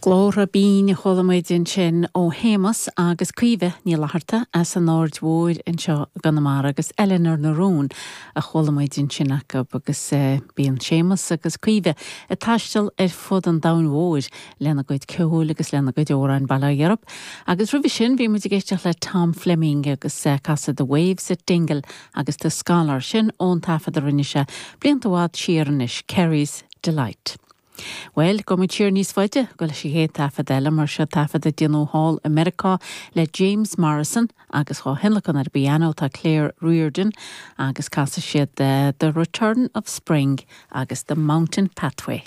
Glórtha binn a chuala muid ansin ó Shéamus agus Caoimhe Ní Fhlatharta as an Aird Mhóir anseo i gConamara agus Eleanor na Rún a chuala muid ansin acu agus bíonn Séamus agus Caoimhe ag taisteal ar fud an domhain mhóir lena gcuid ceoil agus lena gcuid amhráin, bail ó Dhia orthu. Agus roimhe sin bhí muid ag éisteacht le Tom Fleming agus casadh The Waves at Dingle agus The Scholar, sin ón taifead a rinne sé blianta i bhfad siar anois, Kerry's Delight. Bhuel, gabhfaidh muid siar níos faide go leis an chéad taifead eile, mar seo taifead a déanadh thall i Meiriceá le James Morrison agus dhá thionlacan ar an bpianó tá Claire Riordan agus casfaidh siad The Return of Spring agus The Mountain Pathway.